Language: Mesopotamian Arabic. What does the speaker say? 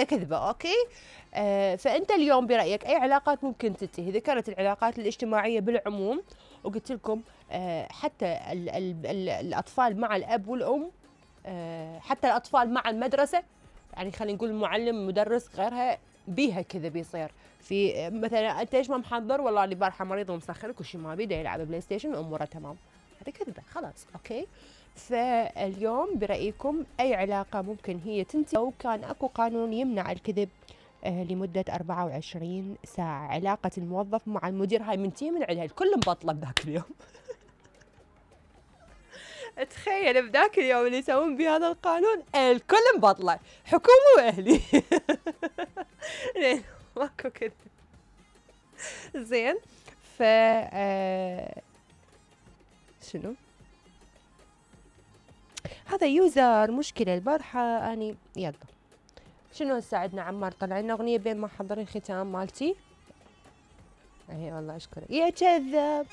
هي كذبة. اوكي. فانت اليوم برايك اي علاقات ممكن تنتهي؟ ذكرت العلاقات الاجتماعيه بالعموم، وقلت لكم حتى ال الاطفال مع الاب والام، حتى الاطفال مع المدرسه، يعني خلينا نقول المعلم مدرس غيرها، بيها كذا بيصير. في مثلا انت ليش ما محضر؟ والله اللي بارحه مريض ومسخرك وشي ما بيده يلعب بلاي ستيشن واموره تمام. هذه كذبه خلاص. اوكي. فاليوم برايكم اي علاقه ممكن هي تنتهي لو كان اكو قانون يمنع الكذب لمدة 24 ساعة؟ علاقة الموظف مع المدير هاي منتهي من عندها، الكل مبطلة بذاك اليوم. تخيل بذاك اليوم اللي يسوون بهذا القانون الكل مبطلة، حكومة واهلي. لين ماكو كذا. زين. ف شنو هذا يوزر مشكلة البارحة اني يلا. شنو هسه عندنا عمار طلع لنا اغنية بين ما حضر الختام مالتي. اي والله اشكرك يا كذاب.